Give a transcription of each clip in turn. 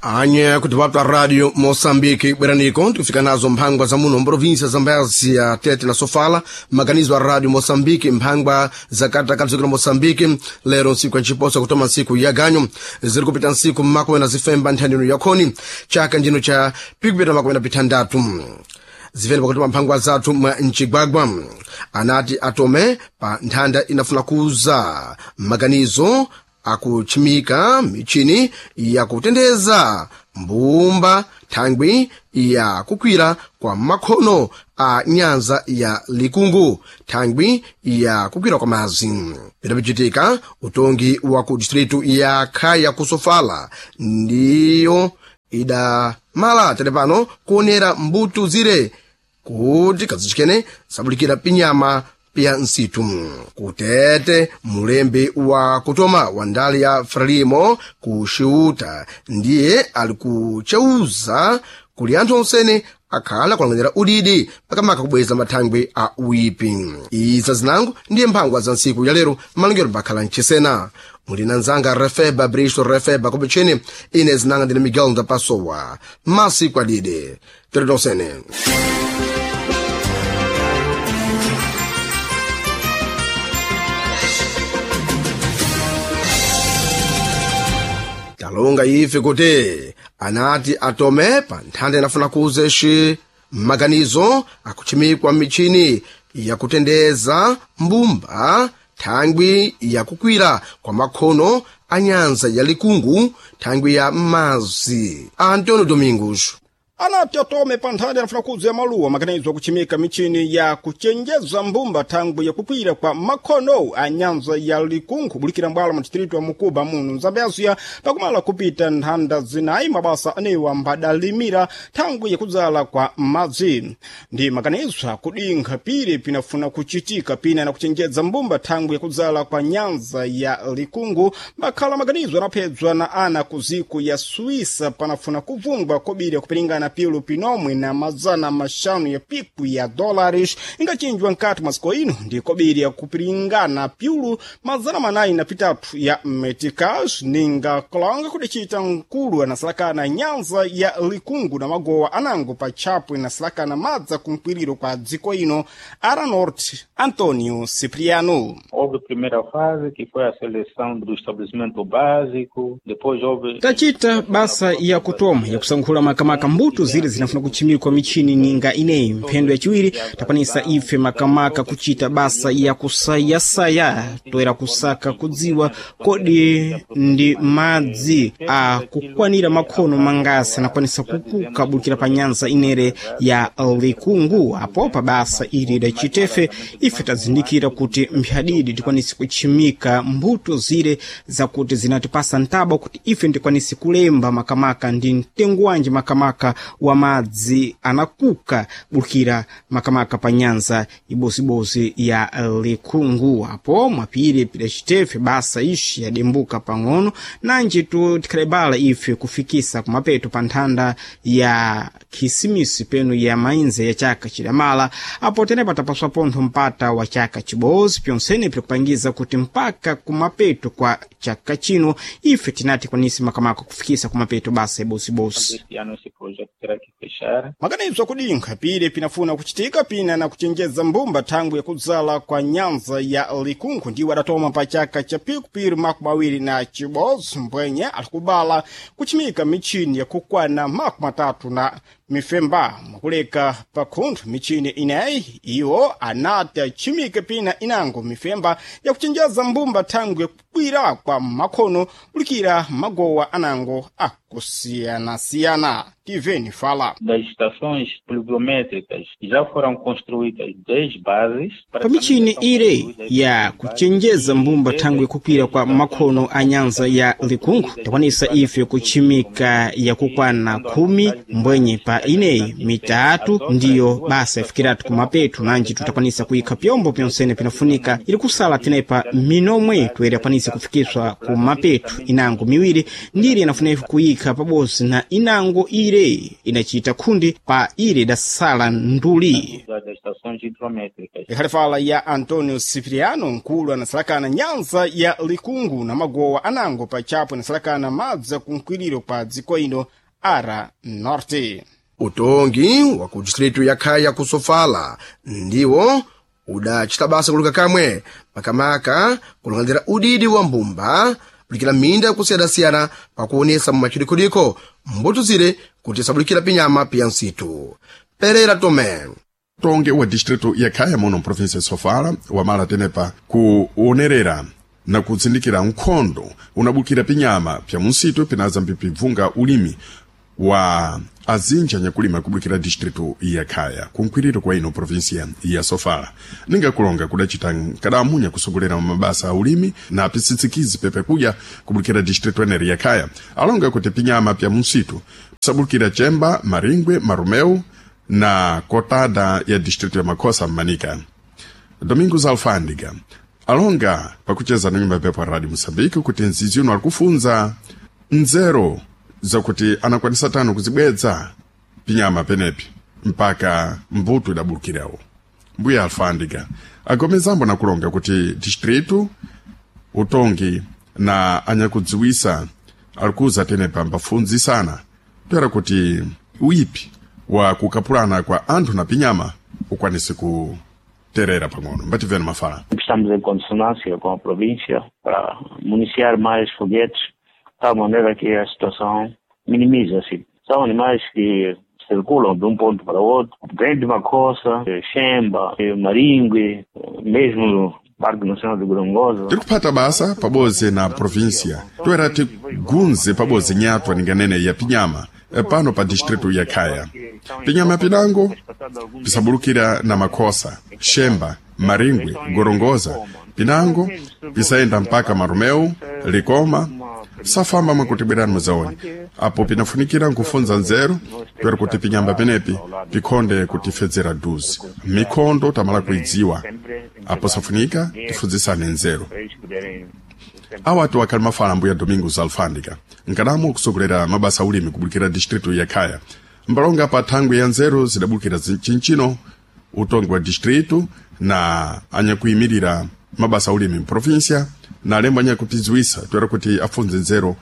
Anye kuti vapta Radio Moçambique bweraniko tikufika nazo mphangwa za muno mprovinsia Zambézia Tete na Sofala, maganizo a Radio Moçambique mphangwa za katakati zikula Moçambique lero nsiku ya nciposa kutoma nsiku ya ganyo ziri kupita nsiku makumi na zifemba nthanino yakhoni chaka njino cha pikupita makumi na pithandatu zimene pakutuma mphangwa zathu mwa mcigwagwa anati atome pa nthanda inafuna kuza maganizo akuchimika michini yakutendeza mbumba thangwi ya kukwira kwa makhono a nyanza ya likungu thangwi ya kukwira kwa mazi pidapichitika utongi wa ku distritu ya khaya kusofala ndiyo idamala tere pano kuonera mbuto zire kuti kazichikene sabulikira pinyama pya nsitu kutete mulembi wa kutoma wa ndale ya Frelimo ku Xiuta ndiye ali kucheuza kuli anthu onsene akhala kulanganyira udidi pakamaka kubweza mathangwi a uipi. Iza zinango ndiye mphangwa za ntsiku ya lero malongero pakhala mchisena muli na nzanga Refeba Bristol Refeba kupecheni ine zinanga ndine Miguel Ndapasowa masiku adide tere tonsene. Talonga ife kuti anati atome pa nthanda inafuna kuzeshi maganizo akuchimikwa michini yakutendeza mbumba thangwi yakukwira kwa makhono a nyanza ya likungu thangwi ya mazi. Antonio Domingos Anati atome pa nthanda yanafuna kuza ya maluwa maganizo akuchimika michini ya kuchenjeza mbumba thangwi yakukwira kwa makhono a nyanza ya likungu bulikira mbwalo mu distritu wa Mukuba muno Zambézia pakumala kupita nthanda zinayi mabasa anewa mbadalimira thangwi yakudzala kwa madzi. Ndi maganizo akudinkha pire pinafuna kuchitika pina na kuchenjeza mbumba thangwi yakudzala kwa nyanza ya likungu mbakhala maganizo anaphedzwa na ana ku ziku ya Suíça panafuna kuvungwa kobiri kupiringana pilu pinomwe na mazana maxanu ya piku ya dólares ingachinjwa nkati mwa ino ndi kobiri ya kupiringana piulu mazana manayi na pitatu ya meticas ninga kolonga kudicita nkulu anasalakana nyanza ya likungu na magowa anango pa tchapwe inasalakana madza kumkwiriro kwa dziko ino ara norte Antonio Cipriano. Houve a primeira fase, que foi a seleção do estabelecimento básico, depois houve... Tachita basa ya kutoma yakusankhula makamaka mbuto zile zinafuna kuchimikwa michini ninga ineyi. Mphendo yachiwiri takwanisa ife makamaka kuchita basa ya kusayasaya toera kusaka kudziwa kodi ndi madzi akukwanira makhono mangasi anakwanisa kukuka bulikira pa nyanza inere ya likungu. Apo pa basa ili lachitefe ife tazindikira kuti mphadidi tikwanise kuchimika mbuto zile zakuti zinatipasa ntaba kuti ife ndikwanise kulemba makamaka ndi mtengo wanji makamaka wa madzi anakuka bulikira makamaka pa nyanza ibozibozi ya likungu. Apo mwapire pidacitefe basa ishi yadembuka pang'ono nanji tu tikhalebala ife kufikisa kumapeto pa nthanda ya khisimisi penu ya mainze ya chaka chidamala. Apo tenepa tapaswa pontho mpata wa chaka chibozi pyonsene pikupangiza kuti mpaka kumapeto kwa chaka chino ife tinati kwanisi makamaka kufikisa kumapeto basa ibozibozi. Este ano esse projeto terá que fechar. Maganizo akudinkha pire pinafuna kuchitika pina na kuchenjeza mbumba thangwi yakudzala kwa nyanza ya likungu ndiwo adatoma pa chaka cha pikupiri makumi awiri na chibozi mbwenye alikubala kuchimika michini yakukwana makumi atatu na mifemba mwakuleka pakhunthu michini ineyi iwo anati achimike pina inango mifemba yakuchenjeza mbumba thangwi yakukwira kwa makhono kulikira magowa anango akusiyana-siyana. Tiveni fala. Das estações pluviométricas já foram construídas 10 bases. Pa michini ire ya kuchenjeza mbumba thangwi yakukwira kwa makhono a nyanza ya likungu takwanisa ife kuchimika yakukwana 10 mbwenye pa ineyi mitatu ndiyo basa yafikiratu kumapeto nanji tutakwanisa kuyikha pyombo pyonsene pinafunika ili kusala tenepa minomwe toera yakwanisa kufikiswa kumapeto inango miwiri ndiri inafuna ife kuyikha pabozi na inango ire Ire inacita khundi pa ire idasala nduli. Das estações hidrométricas. Ikhalifala ya Antonio Cipriano, nkulu anasalakana nyanza ya Likungu na magowa anango pachapo inasalakana madzi akunkwiriro kwa dziko ino ara Norte. Utongi wa ku distritu ya Khaya ku Sofala ndiwo udacita basa kuluka kamwe makamaka kulang'anira udidi wa mbumba bulikira minda yakusiyana-siyana pakuonesa mumachidikhodikho mbuto zire kuti sabulikira pinyama piya nsitu. Pereira Tomé. Utongi wa distritu ya Khaya muno mprovinsia ya Sofala wamala tenepa kuonerera na kutsindikira nkhondo unabukira pinyama pya munsitu pinaza mpipibvunga ulimi wa azinji anyakulima kubukira distritu ya Khaya kunkwiriro kwa ino provinsia ya Sofala. Ninga kulonga kudacita nkadamunya kusogolera mabasa a ulimi na pisitsikizi pepe kuja kubukira distritu eneri ya Khaya. Alonga kuti pinyama pya munsitu sabukira Chemba, Maringwe, Marumeu na kotada ya distritu ya Makosa Manika. Domingos Alfândiga alonga pakucheza na nyumba pepo Radio Mosambiki kuti nzizi uno alikufunza nzero zakuti anakwanisa tano kuzibwedza pinyama penepi mpaka mbuto idabulukirawo. Mbuya Alfândiga agomezambo na kulonga kuti distritu utongi na anyakudziwisa alikuza tenepa mbafunzisana toera kuti uipi wa kukapulana kwa anthu na pinyama ukwanise kuterera pang'ono. Mbativeni mafala. Estamos em consonância com a província para municiar mais foguetes, de tal maneira que a situação minimiza-se. São animais que circulam de um ponto para outro, vem de Macossa, Xemba, Maringue, mesmo no Parque Nacional de Gorongosa. Tiri kuphata basa pabodzi na província toera tigunze pabodzi nyatwa ninganene ya pinyama pano pa distritu ya Khaya. Pinyama pinango pisabulukira na Makosa, Xemba, Maringwe, Gorongosa, pinango pisayenda mpaka Marumeu, Likoma, safamba mwakuti bwerani muzaone. Apo pinafunikira nkufunza nzeru toera kuti pinyamba penepi pikhonde kutifedzera duzi. Mikhondo tamala kuidziwa, apo safunika tifunzisane nzeru. Awatu akhali mafala mbuya Domingos Alfândiga nkadamo kusogolera mabasa ulimi kubulukira distritu ya Khaya. Mbalonga pa thangwi ya nzeru zidabulukira chinchino utongi wa distritu na anyakuyimirira mabasa ulimi mprovinsia na alembo anyakupidziwisa toera kuti afunze nzeru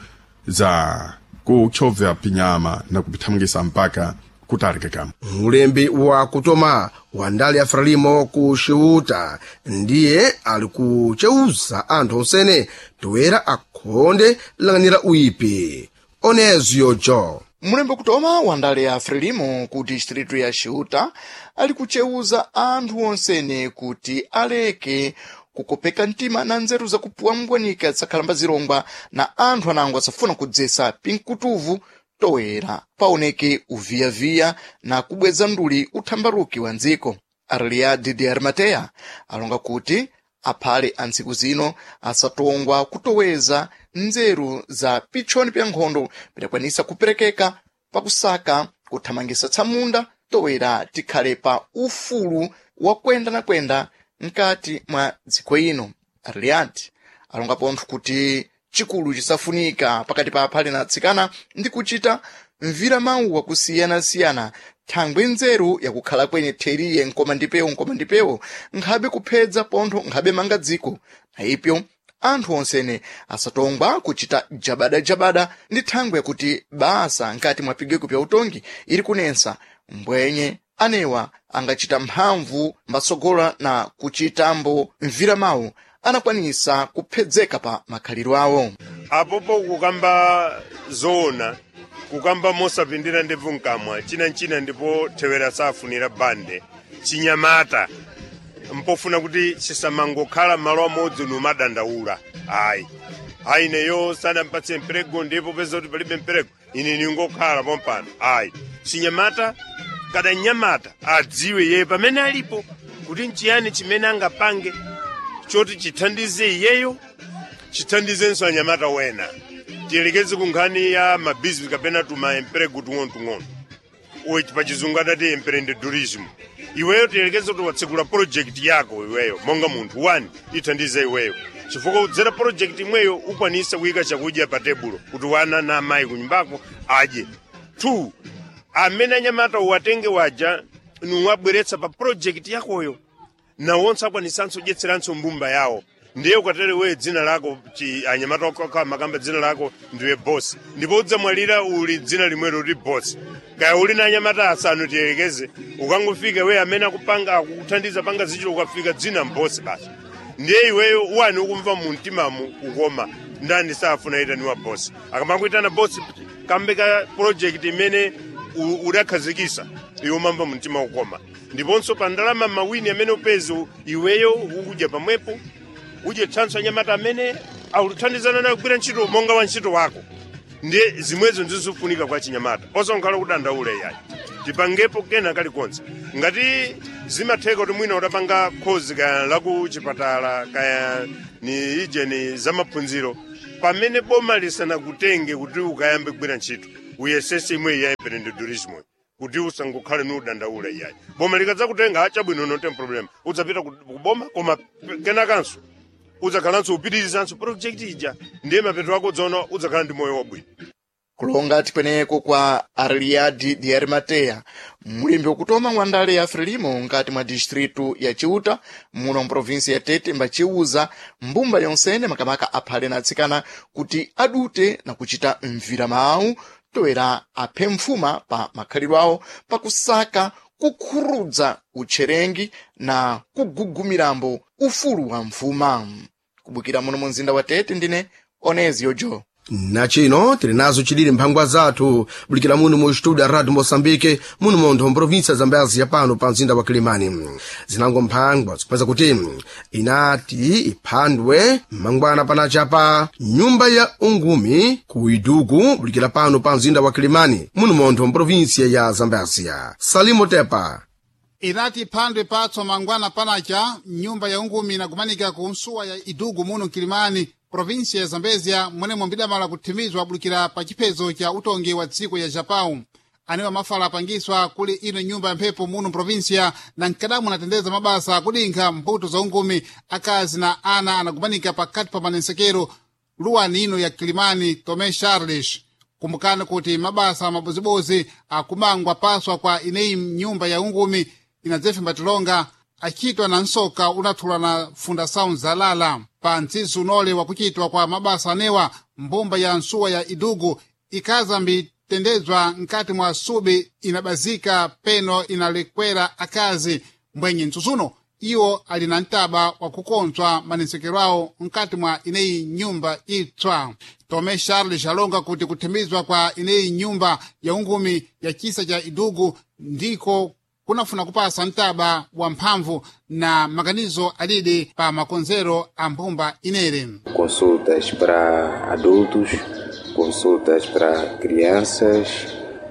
za kuchovya pinyama na kupithamangisa mpaka kutalika kamwe. Mulembi wa kutoma wa ndale ya Frelimo ku Xiuta ndiye ali kuceuza anthu onsene toera akhonde lang'anira uipi. Onezio Jo. Mulembe kutoma wa ndale ya Frelimo ku distritu ya Xiuta ali kuceuza anthu onsene kuti aleke kukopeka mtima na nzeru zakupuwa mbwanika zakhalamba zilongwa na anthu anango asafuna kudzesa pinkutuvu toera paoneke uviyaviya na kubweza nduli uthambaruki wa ndziko. Arliadi de Arimateya alonga kuti aphale a ntsiku zino asatongwa kutoweza nzeru za pitchoni pya nkhondo pidakwanisa kuperekeka pakusaka kuthamangisa tsamunda towera tikhale pa ufulu wa kwenda na kwenda mkati mwa dziko ino. Arliadi alonga pontho kuti chikulu chisafunika pakati pa aphale na atsikana ndi kuchita mvira mawu akusiyana-siyana thangwi nzeru yakukhala kwenye theriye nkoma ndipewo nkoma ndipewo nkhabe kuphedza pontho nkhabe manga dziko. Na ipyo anthu onsene asatongwa kuchita jabadajabada ndi thangwi yakuti basa nkati mwa pigweko pya utongi ili kunensa mbwenye anewa angachita mphamvu mbatsogola na kuchitambo mvira mawu anakwanisa kuphedzeka pa makhaliro awo. Apopo kukamba zoona, kukamba mosapindira ndebvu mkamwa, chinanchina ndipo thewera safunira bande chinyamata mpofuna kuti chisamangokhala malo amodzi numadandaula. Ayi ayi, neyo sanampatse mperego, ndipo peza kuti palibe mperego ine ningokhala pompano. Ayi, chinyamata kada nyamata adziwe yeye pamene alipo kuti nchiyani chimene angapange choti chithandize iyeyo, chithandizenso anyamata wena. Tiyelekeze ku nkhani ya mabizinesi kapena tuma emprego tung'ono-tung'ono, uyi pachizungu adati empreendedorismo. Iweyo tiyelekeze kuti watsekula project yako iweyo monga munthu wani, ithandize iweyo chifukwa udzera project imweyo ukwanisa kuyika chakudya pa tebulo kuti wana na amayi kunyumbako adye. 2 Amene anyamata uwatenge waja nuwabweretsa pa project yakoyo, nawonso akwanisanso kudyetseranso mbumba yawo. Ndiye ukatere wewe dzina lako anyamata okha makamba dzina lako ndiwe boss, ndipo udzamwalira uli dzina limwelo kuti boss. Kaya uli na anyamata asanu tiyelekeze, ukangofika wewe amene akupanga akukuthandiza panga zichito, ukafika dzina mbosi basi. Ndiye iweyo wani ukumva mu mtimamu kukoma, ndani safuna itaniwa bosi? Akamakuitana bosi kambe ka project imene udakhazikisa, iwe umamva mu mtima kukoma. Ndiponso pa ndalama mawini amene upeze iweyo ukudya pamwepo, udye thanso anyamata amene akuthandizana nawe kugwira ntchito monga wa ntchito wako. Ndiye zimwezo ndizofunika kwa chinyamata, osankhala kudandaula iyayi. Tipangepo kena kalikonse ngati zimatheka kuti mwina udapanga khozi kaya laku chipatala kaya ni ije ni zamaphunziro, pamene boma lisanakutenge kuti ukayambe kugwira ntchito, uyesese imwe ya empreendedorismo kuti usangokhale ni udandaula iyayi. Boma likadzakutenga, chabwino, no tem problem, udzapita kuboma, koma kenakanso udzakhalanso upitirizanso project ija. Ndiye mapeto ako udzaona udzakhala ndi moyo wabwino. Kulonga tikweneko kwa Arliadi de Arimatea, mulembi wakutoma wa ndale ya Frelimo nkati mwa distritu ya Chiuta muno mprovinsi ya Tete, mbaciuza mbumba yonsene makamaka aphale na atsikana kuti adute na kuchita mvira mawu toera aphe mfuma pa makhalidwe awo pakusaka kukhurudza utcherengi na kugugumirambo ufulu wa mfuma. Kubukira muno mu mzinda wa Tete, ndine Onezio Jo. Nachino tili nazo chilili mphangwa zathu bulikira muno mu studio ya Radio Moçambique muno montho mprovinsia Zambezi ya pano pa mzinda wa Kilimani. Zinango mphangwa zikupeza kuti inati iphandwe mangwana panachapa nyumba ya ungumi ku Idugu bulikira pano pa mzinda wa Kilimani muno montho mprovinsia ya Zambezia. Salimo Tepa. Inati phandwe patso mangwana panacha nyumba ya ungumi inagumanika ku nsuwa ya Idugu muno Kilimani, provinsia ya Zambezia, mwenemwe mbidamala kuthimizwa abulikira pa chiphezo cha utongi wa dziko ya Japão. Anewa mafala apangiswa kuli ino nyumba ya mphepo muno mprovinsia na mkadamu anatendeza mabasa akudinkha mbuto za ungumi akazi na ana anagumanika pakati pa manensekero luwani ino ya Kilimani. Tomé Charles, kumbukani kuti mabasa mabozibozi akumangwa paswa kwa ineyi nyumba ya ungumi inadzefe mbatilonga achitwa na nsoka unathulwa na Fundação Zalala. Pa mtsizi unole wakuchitwa kwa mabasa anewa, mbumba ya nsuwa ya Idugu ikaza mbitendedzwa nkati mwa subi inabazika peno inalekwera akazi mbwenye mtsutsuno iwo ali na mtaba wakukonzwa manensekero awo nkati mwa ineyi nyumba itswa. Tome Charles alonga kuti kuthimizwa kwa ineyi nyumba ya ungumi ya chisa cha Idugu ndiko kunafuna kupasa mtaba wa mphamvu na maganizo alidi pa makonzero a mbumba inere. Consultas para adultos, consultas para crianças,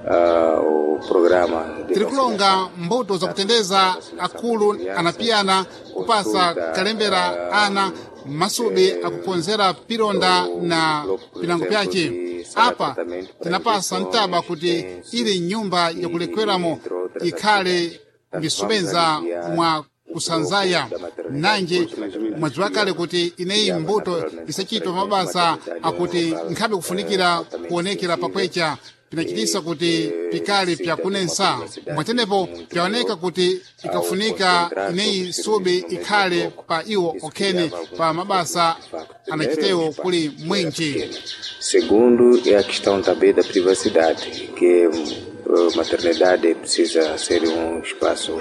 o programa de tirikulonga mbuto zakutendeza akulu anapiyana kupasa kalembera ana masubi akukonzera pilonda na pilango pyace. Apa tinapasa mtaba kuti ili nyumba yakulekweramo ikhale mbisubenza mwa kusanzaya nanji mwadziwa kale kuti ineyi mbuto isachitwa mabasa akuti nkhabe kufunikira kuonekera pakwecha pinachitisa kuti pikali pyakunensa. Mwatenepo pyaoneka kuti ikafunika ineyi subi ikhale pa iwo okhene pa mabasa anachitewo kuli mwinji. Segundo é a questão também da privacidade, que maternidade precisa ser um espaço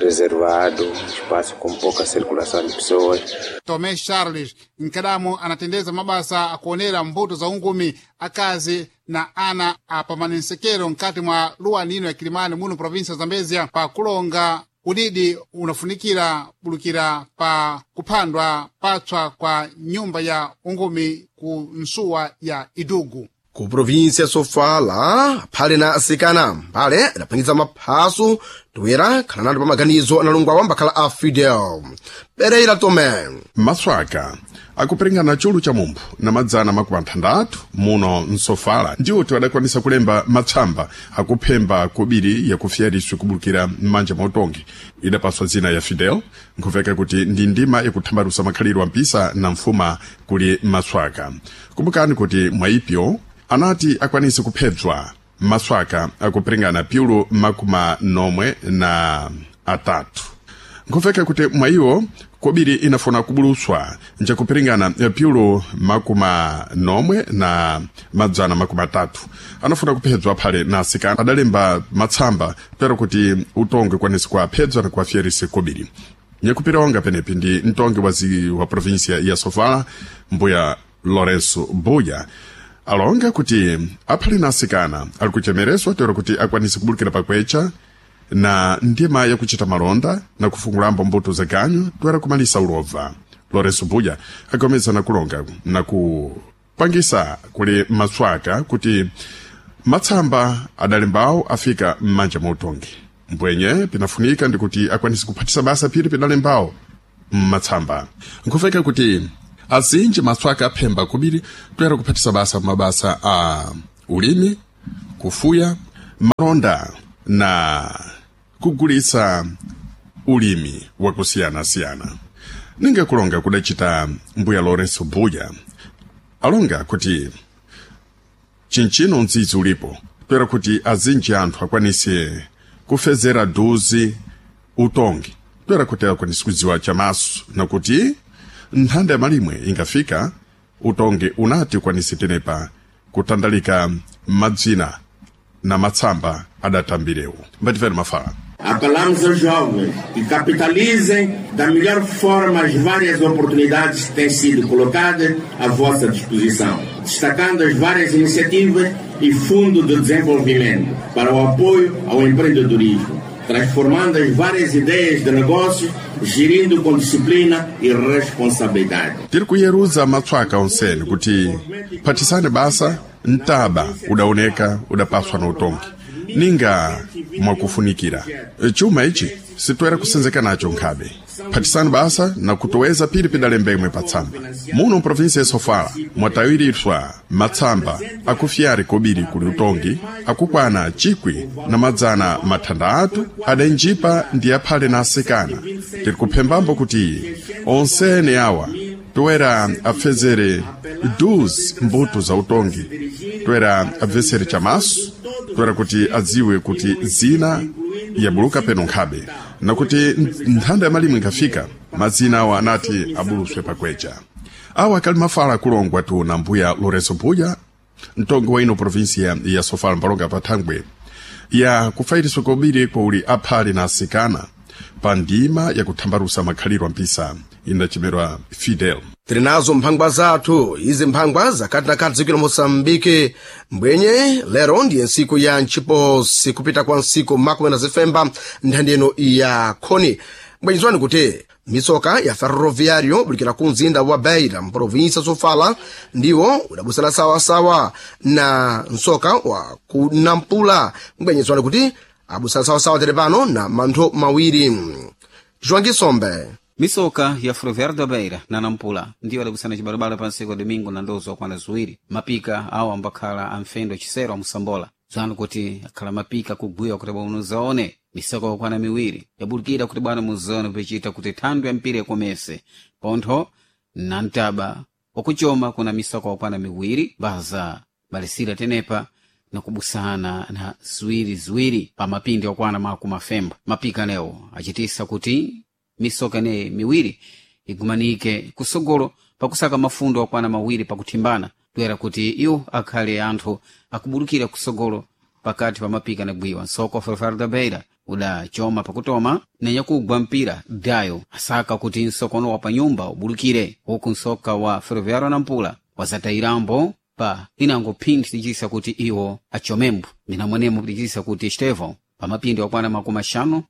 reservado, um espaço com pouca circulação de pessoas. Tomé Charles nkadamo anatendeza mabasa akuonera mbuto za ungumi akazi na ana apamanensekero nkati mwa luwani ino ya Kilimani muno provinsia ya Zambezia pa kulonga udidi unafunikira bulukira pa kuphandwa patswa kwa nyumba ya ungumi ku nsuwa ya Idugu. Ku provinsia Sofala phale na asikana mphale adapangitsa maphaso toera khala nalo pa maganizo analungwa wambakhala a Fidel Pereira Tomé. Maswaka akuperingana chulu cha mumphu na madzana makumi athandathu muno msofala ndiwo tiwadakwanisa kulemba matsamba akuphemba kobiri yakufyariswe kubulukira m'manja mwa utongi idapaswa dzina ya Fidel, nkhuveka kuti ndi ndima yakuthambalusa makhalidwe ampisa na mfuma kuli maswaka. Kumbukani kuti mwaipyo anati akwanise kuphedzwa Maswaka akupiringana piulu 93. Nkufeka kuti mwayiwo kobiri inafuna kubuluswa njakupiringana piulu 330 anafuna kuphedzwa phale na asikana adalemba matsamba pero kuti utongi ukwanise kuaphedzwa na kuafyerise kobiri. Nyakupira penepi ndi mtongi wa província ya Sofala, mbuya Lourenço Buya, alonga kuti aphale na asikana ali kuchemereswa tero kuti akwanise kubulukira pakwecha na ndima yakuchita malonda na kufungulambo mbuto za ganyu toera kumalisa ulova. Lourenço Buya agomeza na kulonga na kupangisa kuli maswaka kuti matsamba adalembawo afika m'manja mwa utongi. Mbwenye pinafunika ndikuti akwanise kuphatisa basa phiri pidalembawo mmatsamba. Nkufeka kuti azinji maswaka aphemba kubiri toera kuphatisa basa mabasa a ulimi, kufuya, malonda na kugulisa ulimi wakusiyana-siyana. Ninga kulonga kudacita mbuya Lourenço Buya alonga kuti chinchino mdzidzi ulipo toera kuti azinji anthu akwanise kufezera duzi utongi toera kuti akwanise kudziwa chamaso nakuti nthanda ya malimwe ingafika utongi unati ukwanise tenepa kutandalika madzina na matsamba adatambirewo. Mbatifere mafala. Apelamos aos jovens que capitalizem da melhor forma as várias oportunidades que têm sido colocadas à vossa disposição, destacando as várias iniciativas e fundo de desenvolvimento para o apoio ao empreendedorismo, transformando as várias ideias de negócios, gerindo com disciplina e responsabilidade. Tiri kuyeruza matswaka onsene kuti phathisane basa mtaba udaoneka udapaswa na utongi ninga mwakufunikira chuma ichi sitoera kusenzeka nacho nkhabe. Phathisani basa na kutoweza pili pidalemba imwe patsamba. Muno mprovinsia ya Sofala mwatawiriswa matsamba akufyari kobiri kuli utongi akukwana 1,600 adanjipa ndi aphale na asikana. Tiri kuphembambo kuti onsene awa toera apfezere 12 mbuto za utongi, toera abvesere chamaso, toera kuti adziwe kuti zina yabuluka peno nkhabe nakuti nthanda ya malimwe inkafika mazina awa anati abuluswe pakwecha. Awa akali mafala akulongwa tu na mbuya Lourenço Buya, mtongi wa ino provinsia ya Sofala mpalonga pa thangwe ya kufairiswa kobiri kwa uli aphale na asikana pa ndima yakuthambalusa makhaliro ampisa inachemerwa Fidel. Tiri nazo mphangwa zathu izi mphangwa zakati na kati dziko la Moçambike. Mbwenye lero ndiye ntsiku ya ntchiposi kupita kwa ntsiku makumi na zifemba nthandi ino ya khoni. Mbwenyezwani kuti mitsoka ya ferroviário bulikira ku mzinda wa Beira mprovinsia Sofala ndiwo udabusana sawasawa na mtsoka wa ku Nampula. Mbwenyezwani kuti abusana sawasawa tere pano na manthu mawiri. João Gisombe. Misoka ya Ferroviário da Beira na Nampula ndiyo adabusana cibalabala pa ntsiku ya domingo na ndozo okwana ziwiri. Mapika awo ambakhala amfendo cisero amusambola dzanu kuti akhala mapika kugwiwa kuti bwana muzaone misoka okwana miwiri yabulikira kuti bwana muzaone pichita kuti thandu ya mpira ikomese pontho na mtaba wakuchoma kuna misoka okwana miwiri baza balisira tenepa na kubusana na ziwiriziwiri pa mapindi okwana makumi afemba. Mapika lewo achitisa kuti misoka ineyi miwiri igumanike kusogolo pakusaka mafundo okwana mawiri pakuthimbana toera kuti iwo akhale anthu akubulukira kusogolo pakati pa mapika na gwiwa. Nsoko wa Ferroviário da Beira udachoma pakutoma nenyakugwa mpira dayo asaka kuti nsokono wa panyumba ubulukire, huku nsoka wa Ferroviário Nampula wazatayirambo pa inango phindi tichisa kuti iwo achomembo minamwenemo tichisa kuti Estevão pa mapindi okwana 56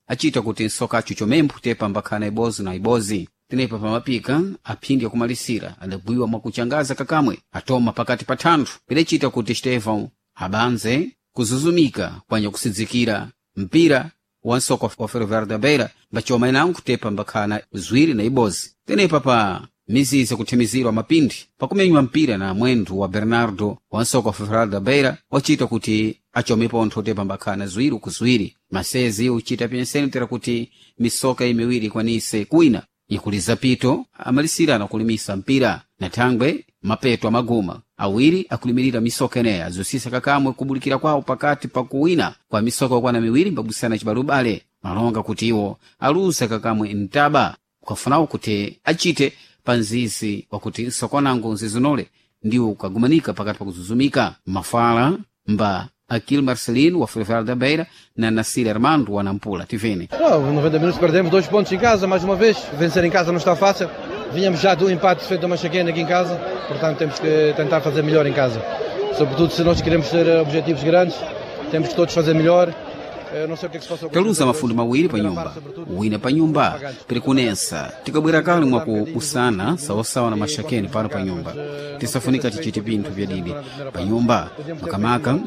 achita kuti nsoka acho chomembo tepa mbakhana ibozi na ibozi. Tenepa pamapika aphindi akumalisira adagwiwa mwakuchangaza kakamwe atoma pakati pa thanthu pidacita kuti Estevão abanze kuzuzumika kwanya kusidzikira mpira wa nsoka wa Ferroviário da Beira mbachoma inango tepa mbakhana ziwiri na ibozi. Tenepa pa mizizi kuthimizirwa mapindi pakumenywa mpira na mwendo wa Bernardo wa nsoka wa Ferroviário da Beira wachita kuti achome pontho tepa mbakhana ziwiri kuziwiri. Masezi uchita penseni tera kuti misoka imiwiri ikwanise kwina ikuliza pito amalisira na kulimisa mpira na thangwe Mapeto amaguma awiri akulimirira misoka eneya zosisa kakamwe kubulikira kwawo pakati pa kuwina kwa misoka okwana miwiri mbabusana cibalubale malonga kuti iwo aluza kakamwe mtaba ukafunawo kuti achite pa nzizi wakuti nsokonango nzizinole ndiwo ukagumanika pakati pa kuzuzumika mafala mba Aquil Marcelino wa Ferroviário da Beira na Nassir Armando wa Nampula. Tivene. Não, 90 minutos perdemos 2 pontos em casa, mais uma vez. Vencer em casa não está fácil. Vinhamos já do empate feito a Machaquena aqui em casa, portanto temos que tentar fazer melhor em casa. Sobretudo se nós queremos ter objetivos grandes, temos que todos fazer melhor. Eu não sei o que é que se passou com Taluza mafundo mawiri pa nyumba, wina pa nyumba pirikunensa tikabwera kale mwaku usana sawasawa na mashakeni pano pa nyumba tisafunika tichite pinthu pyadidi pa nyumba makamaka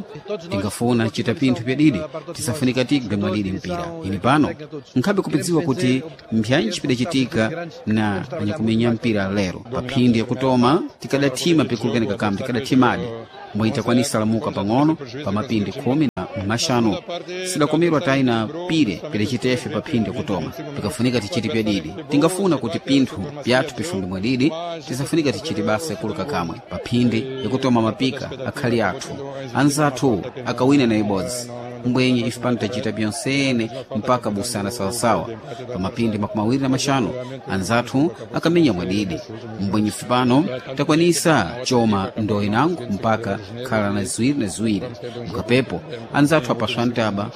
tingafuna chita pinthu pyadidi tisafunika tigwe mwadidi mpira ini pano nkhabe kupidziwa kuti mpyanji pidachitika na anyakumenya mpira lero pa phindi yakutoma tikadathima pikulukeni kakambi tikadathimadi mwayitakwanisa lamuka pang'ono pa mapindi khumi na maxanu sidakomerwa tayi na pire pidacitefe pa phindi yakutoma pikafunika tichiti pyadidi tingafuna kuti pinthu pyathu pifumbe mwadidi tisafunika tichiti basa yakuluka kamwe pa phindi yakutoma mapika akhali athu anzathu akawina na ibodzi mbwenye ife pano tachita byonsene mpaka busana sawasawa pa mapindi 25 anzathu akamenya mwadidi mbwenye ife pano takwanisa choma ndo inango mpaka khala na ziwiri na ziwiri mkapepo anzathu apaswa ntaba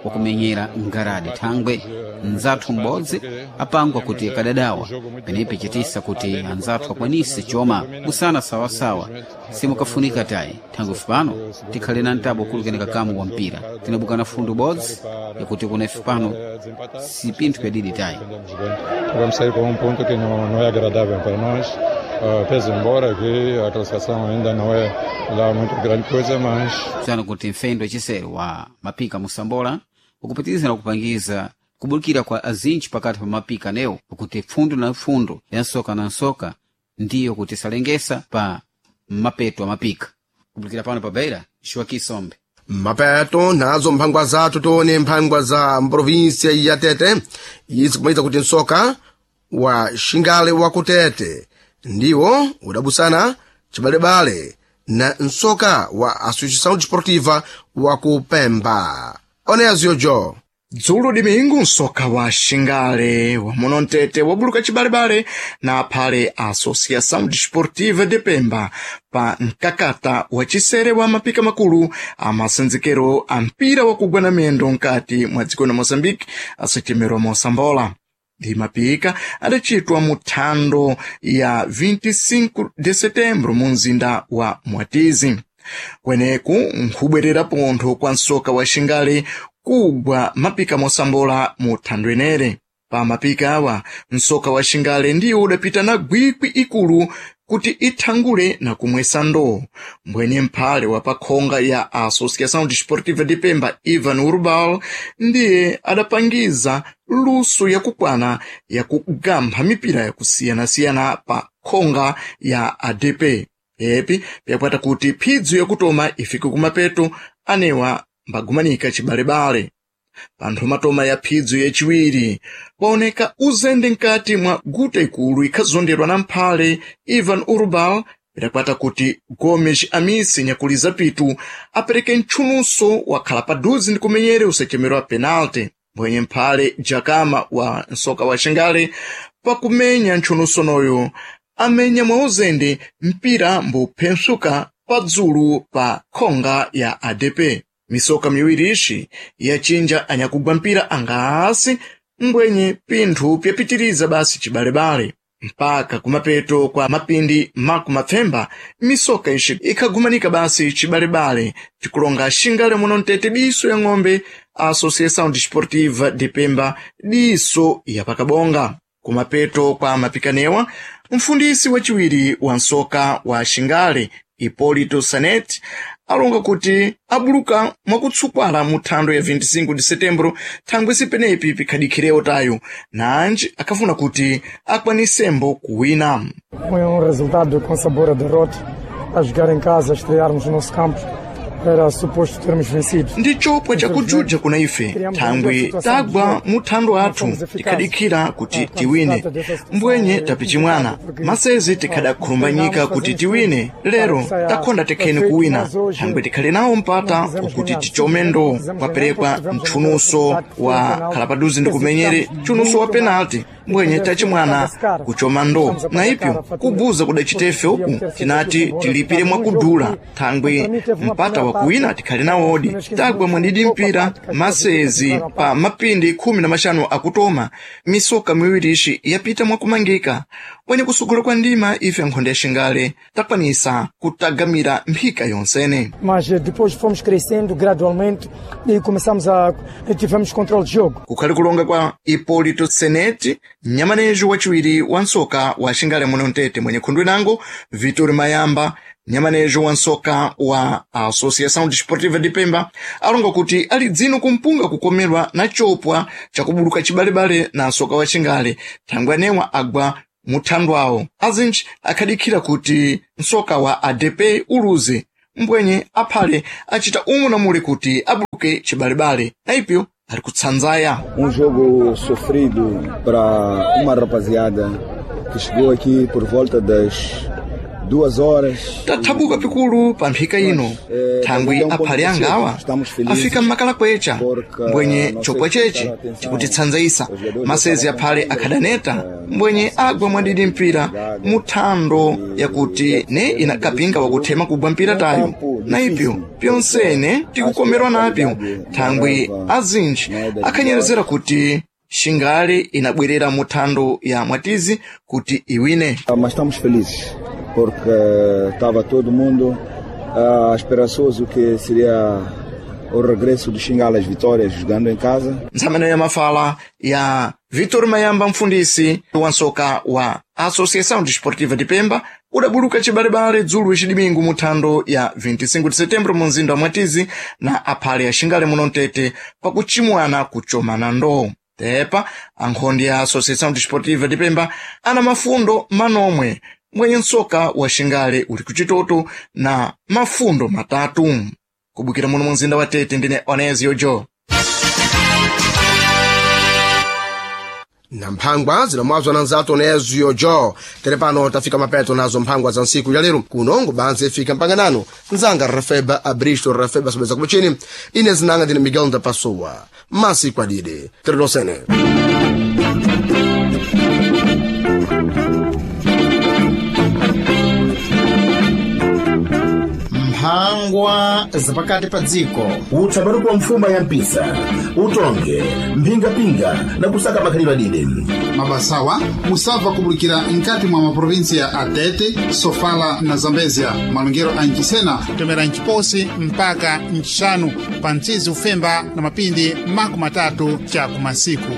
wakumenyera ngaradi thangwe nzathu m'bodzi apangwa kuti akadadawa penepe chitisa kuti anzathu akwanise choma busana sawasawa simukafunika tayi thangwe pano tikhale na mtabo ukulukeni kakamu wa mpira tinabukana fundo bodzi yakuti kuna ife pano si pinthu pyadidi tayi. Vamos sair com um ponto que não é agradável para nós. Pese embora que a classificação ainda não é lá muito grande coisa, mas tsano kuti mfendo wachisere wa mapika musambola ukupitiriza na kupangiza kubulikira kwa azinji pakati pa mapika newo kuti pfundo na pfundo ya nsoka na nsoka ndiyo kuti salengesa pa mapeto a mapika kubulikira pano pa Beira Joaquim Mapeto nazo mphangwa zathu tione mphangwa za mprovinsia ya Tete izi kumaliza kuti nsoka wa Xingale wa kutete ndiwo udabusana cibalebale na nsoka wa Associação Desportiva wa kupemba oneaziyojo. Dzulo dimingu nsoka wa Xingale wa muno mtete wabuluka cibalebale na aphale a Associação Desportiva de Pemba pa mkakata wa cisere wa mapika makulu a masenzekero a mpira wa kugwa na miyendo nkati mwa dziko la Moçambique asachemerwa mosambola. Ndi mapika adacitwa mu thando ya 25 de setembro mu mzinda wa Mwatizi. Kweneku nkhubwerera pontho kwa nsoka wa Xingale kugwa mapika mosambola mu thando enere. Pa mapika awa nsoka wa Xingale ndiwo udapita na gwikwi ikulu kuti ithangule na kumwesa ndoo. Mbwenye mphale wa pakhonga ya Associação Desportiva de Pemba Ivan Urbal ndiye adapangiza luso yakukwana yakugampha mipira yakusiyanasiyana pa khonga ya ADP. Epi pyakwata kuti phidzo yakutoma ifike kumapeto anewa mbagumanika cibalebale. Panthu matoma ya phidzo yaciwiri kwaoneka uzende nkati mwa guta ikulu ikhazonderwa na mphale Ivan Urbal pidakwata kuti Gomes Amisi nyakuliza pitu apereke ntchunuso wakhala paduzi ndi kumenyere usachemerwa penalty. Mbwenye mphale Jakama wa nsoka wa Xingale pakumenya ntchunuso noyo amenya mwa uzende mpira mbuphensuka padzulu pa khonga ya ADP. Misoka miwiri ixi yachinja anyakugwa mpira angasi mbwenye pinthu pyapitiriza basi cibalebale mpaka kumapeto kwa mapindi makumapfemba misoka ixi ikhagumanika basi cibalebale cikulonga Xingale muno mtete diso ya ng'ombe a Associação Desportiva de Pemba diso ya pakabonga. Kumapeto kwa mapikanewa mfundisi waciwiri wa nsoka wa Xingale Hipólito Sanet alonga kuti abuluka mwakutsukwala mu thando ya 25 de setembro thangwe sipenepi pikhadikhirewo tayo nanji akhafuna kuti akwanisembo kuwina. Foi um resultado com sabor a derrota, a jogar em casa, a estrearmos no nosso campo. Era suposto termos vencido. Ndi chopwa chakujuja kuna ife thangwi tagwa muthando athu tikhadikira kuti tiwine mbwenye tapichimwana masezi tikhadakhulumbanyika kuti tiwine lero takhonda tekheni kuwina thangwi tikhali nawo mpata ukuti tichome ndo kwaperekwa mtchunuso wa khalapaduzi ndi kumenyere tchunuso wa penalti mbwenye tachimwana kuchoma ndo na ipyo kubuza kudacitefe uku tinati tilipire mwakudula thangwi mpata wa kuwina tikhali nawodi tagwa mwadidi mpira masezi pa mapindi 15 akutoma misoka miwiri ixi yapita mwakumangika mwenye kusukula kwa ndima ife nkhonde ya xingale takwanisa kutagamira mphika yonsene. Mas depois fomos crescendo gradualmente e começamos a tivemos controle de jogo. Kukhali kulonga kwa Hipolito Seneti, mnyamanejo wachiwiri wa nsoka wa xingale muno mtete mwenye khundu inango Vitor Mayamba nyamanejo wa nsoka wa Associação Desportiva de Pemba alonga kuti ali dzino kumpunga kukomerwa na chopwa chakubuluka chibalebale na nsoka wa xingale thangwi anewa agwa muthandu awo azinji akhadikhira kuti nsoka wa ADP uluze mbwenye aphale achita umu na mule kuti abuluke chibalebale na ipyo ali kutsanzaya. Jogo sofrido para uma rapaziada que chegou aqui por volta das 2 horas. Tathabuka pikulu pa mphika ino thangwi aphale angawa afika mmakala kwecha mbwenye chopwa chechi chikutitsanzaisa masezi aphale akhadaneta mbwenye agwa mwadidi mpira muthando yakuti ne inakapinga wakuthema kugwa mpira tayo na ipyo pyonsene tikukomerwa napyo thangwi azinji akhanyerezera kuti xingale inabwerera muthando ya mwatizi kuti iwine. Mas estamos felizes porque estava todo mundo esperançoso que seria o regresso do Xingala às vitórias jogando em casa. Ntsamano ya mafala ya Vitor Mayamba mfundisi wa nsoka wa Associação Desportiva de Pemba udabuluka chibalebale dzulo icidimingu muthando ya 25 de setembro mu mzinda wa Mwatizi na aphale ya Xingale muno mtete pakuchimwana kuchomana ndo. Tepa ankhondi ya Associação Desportiva de Pemba ana mafundo manomwe mwenye nsoka wa Xingale uli kuchitoto na mafundo matatu. Kubukira muno mu mzinda wa Tete ndine Onesio Jo. Na mphangwa zilamwazwa na nzatu Onesio Jo. Tere pano tafika mapeto nazo mphangwa za nsiku ya lero kunongo banze ifika mpanganano nzanga Rafeba Abristo Rafeba sobeza kubuchini ine zinanga ndine Miguel Ndapassoa masiku adide teredosene. Mphangwa zapakati pa dziko. Utsapatu kwa mfuma ya mpisa utonge mphingapinga na kusaka makhalidwe adide. Mabasawa musabva kubulikira nkati mwa maprovinsia a Tete, Sofala na Zambezia. Malongero a Nchisena kutomera Nchiposi mpaka Nchixanu pa mtsizi ufemba na mapindi 30 cha kumasiku.